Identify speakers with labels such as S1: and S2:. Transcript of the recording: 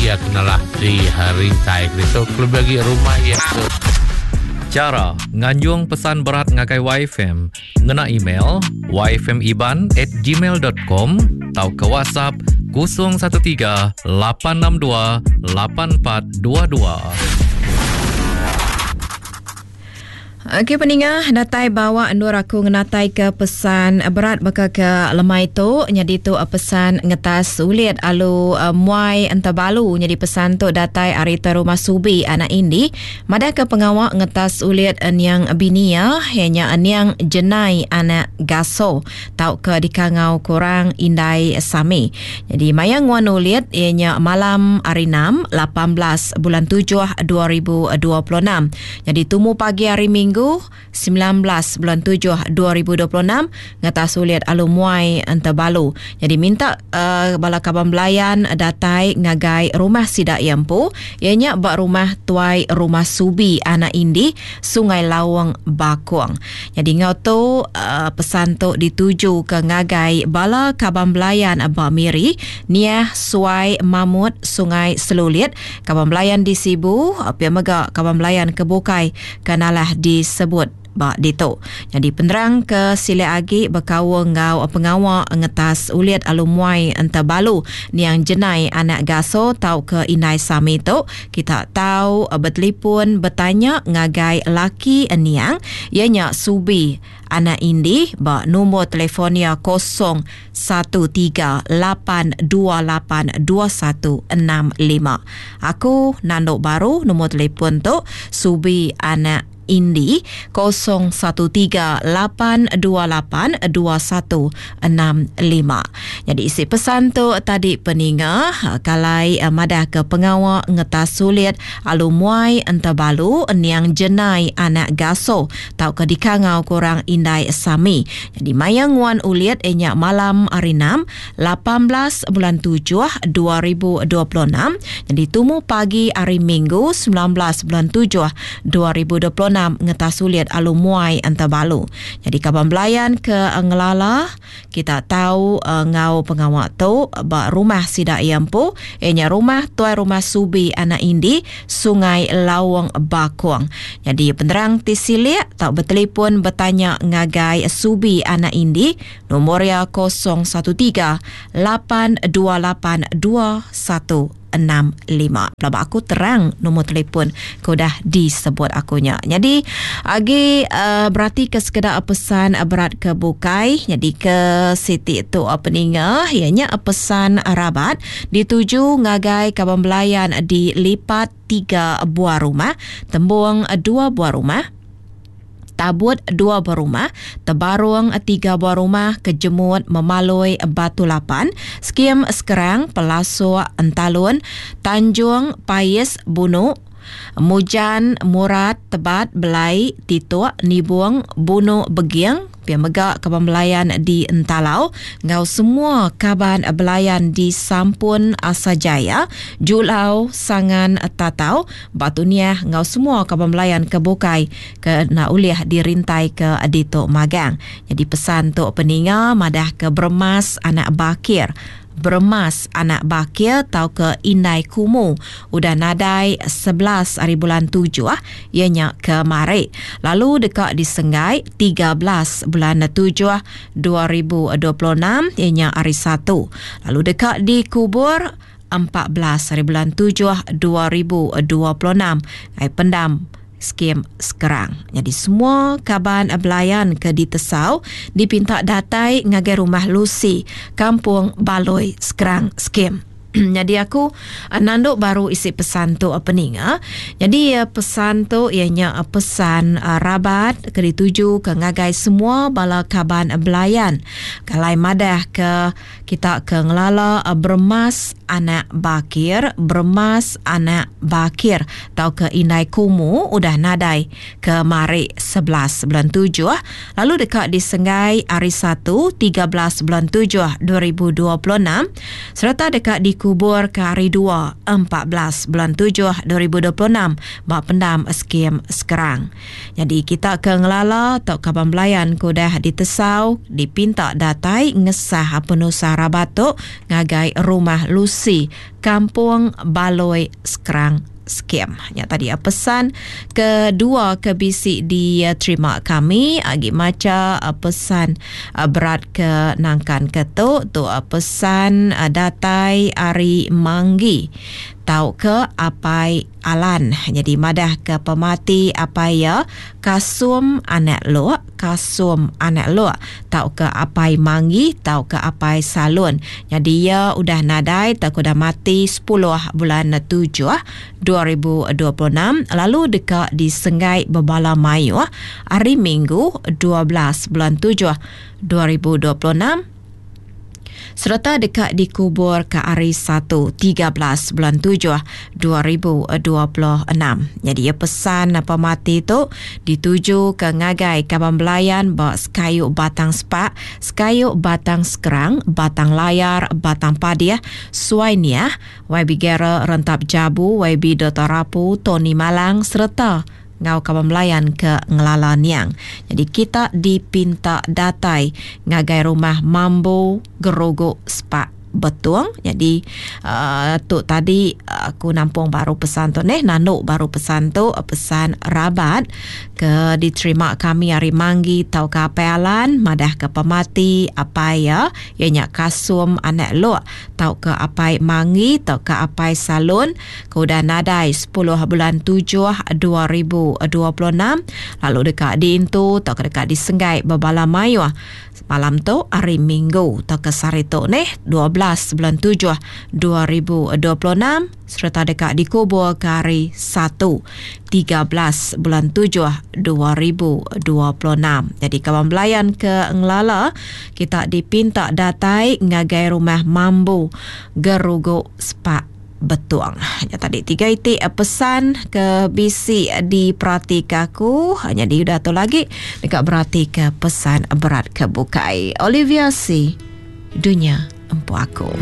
S1: iya ke nalah di rintai ke ditu kelebih agi rumah iya ke
S2: Chara nganjung pesan berat ngagai YFM ngena email yfmiban at gmail dot com tauka WhatsApp 013 862 8422.
S3: Okey peninga datai bawa endur aku ngenatai ke pesan berat baka ke lemai tu nyadi tu pesan ngetas ulit alu muai entabalu nyadi pesan tu datai ari te rumah Subi anak Indi madah ke pengawa ngetas ulit niang bini iya iya nya niang Jenai anak Gaso tauka dikangau ke orang Indai Sami. Nyadi maya nguan ulit iya nya malam hari enam 18 bulan tujuh 2026. Nyadi tumu pagi hari Minggu, 19 bulan tujuh 2026, ngetas ulit alu muai Entebalu. Nyadi minta uh, bala kaban belayan datai ngagai rumah sida iya empu, iya nya ba rumah Tuai Rumah Subi Anak Indi, Sungai Laung, Bakong. Nyadi enggau tu uh, pesan tu dituju ke ngagai bala kaban belayan ba Miri, Niah Suai Mamut Sungai Selulit, Kaban belayan di Sibu, pia mega kaban belayan ke bukai ke nalah disebut ba ditu. Nyadi penerang ke silik agi bekaul enggau pengawa ngetas ulit alu muai Entebalu niang Jenai anak Gaso tauka Indai Sami tu, kita tau betelipun betanya ngagai laki niang iya nya Subi Anak Indi ba nombor telefon iya 0138282165. Aku nandu baru nombor telefon tu Subi Anak Indi 0138282165. Nyadi isi pesan tu tadi peninga kalai madah ke pengawa ngetas sulit alu muai entebalu niang Jenai anak Gaso tauka dikangau ke orang Indai Sami. Nyadi maya nguan ulit iya nya malam hari enam, 18 bulan tujuh 2026, nyadi tumu pagi hari Minggu 19 bulan tujuh 2026 ngetas ulit alu muai Entebalu. Nyadi kaban belayan ke ngelala Kita tau enggau pengawa tu ba rumah sida iya empu, iya nya rumah Tuai Rumah Subi Anak Indi, Sungai Laung Bakong. Nyadi penerang ti silik tau betelipun betanya ngagai Subi Anak Indi, nombor iya 013 828 21 65. Pelaba aku terang nombor telefon ke udah disebut aku nya. Nyadi agi uh, berati ke sekeda pesan berat ke bukai. Nyadi ke siti tu peninga iya nya pesan rabat dituju ngagai kaban belayan di lipat tiga buah rumah, tembung dua buah rumah, Tabut dua buah rumah, Tebarung tiga buah rumah, Kejemut, Memaloi, Batu Lapan, Skim Sekerang, Pelasuk, Entalun, Tanjung, Pais, Bunu, Mujan, Murat, Tebat, Belai, Tituk, Nibung, Bunu, Beging, Pia mega kaban belayan di Entalau enggau semua kaban belayan di Sampun Asajaya, Julau, Sangan, Tatau, Batu Niah enggau semua kaban belayan ke bukai ke enda ulih dirintaika ditu magang. Nyadi pesan tu peninga madahka Beremas anak Bakir, Beremas anak Bakir tauka Indai Kumu udah nadai 11 ari bulan tujuh iya nya kemari lalu deka disenggai 13 bulan tujuh 2026 iya nya hari Satu lalu deka dikubur 14 ari bulan tujuh 2026 ai pendam Skim Skrang. Nyadi semua kaban belayan ke ditesau dipinta datai ngagai Rumah Lucy, Kampung Baloi, Skrang, Skim. Nyadi aku nandu baru isi pesan tu peninga. Nyadi pesan tu iya nya pesan rabat ke ditujuka ngagai semua bala kaban belayan. Kalai madah ke Kita ke ngelala Beremas anak Bakir, Beremas anak Bakir tauka Indai Kumu udah nadai kemari 11 bulan tujuh lalu deka disenggai hari Satu 13 bulan tujuh 2026 sereta deka di. dikubur ke hari dua, 14 bulan tujuh 2026 ba pendam Skim Skrang. Nyadi kita ke ngelala tauka kaban belayan ke udah ditesau dipinta datai ngesah penusah rabat tu ngagai Rumah Lucy, Kampung Baloi Skrang Skim. Nya tadi pesan kedua ke bisi diterima kami agi macha pesan berat ke nangkan ke tu tu pesan datai ari Manggi tauka Apai Alan nyadi madah ke pemati apai iya Kasum anak Lok, Kasum anak Lok tauka Apai Manggi tauka Apai Salun. Nyadi iya udah nadai tauka udah mati sepuluh bulan tujuh 2026 lalu deka disenggai bebala mayuh hari Minggu 12 bulan tujuh 2026. Sereta deka dikuburka hari Satu, 13 bulan tujuh 2026. Nyadi iya pesan pemati tu ditujuka ngagai kaban belayan ba Sekayu Batang Spak, Sekayu Batang Skrang, Batang Layar, Batang Padih, Suai Niah, YB Gerald Rentap Jabu, YB Doktor Rapu, Tony Malang sereta enggau kaban belayan ke ngelala niang. Nyadi kita dipinta datai ngagai rumah Mambu Gerugu Spak Betong. Nyadi uhh tu tadi aku nampung baru pesan tu neh nandu baru pesan tu pesan rabat ke diterima kami ari Manggi tauka Apai Alan madah ke pemati apai iya iya nya Kasum anak Lok tauka Apai Manggi tauka Apai Salun ke udah nadai sepuluh bulan tujuh 2026 lalu deka diintu tauka deka disenggai bebala mayuh malam tu hari Minggu tauka sehari tu neh 12 bulan tujuh 2026 sereta deka dikubur ke hari Satu 13 bulan tujuh 2026. Jadi kaban belayan ke ngelala kita dipinta datai ngagai rumah Mambu Gerugu Spak Betong. Nya tadi tiga iti pesan ke bisi diperatika aku. Nyadi udah tu lagi deka beratika pesan berat ke bukai. Olivia C. Dunya Empu Aku.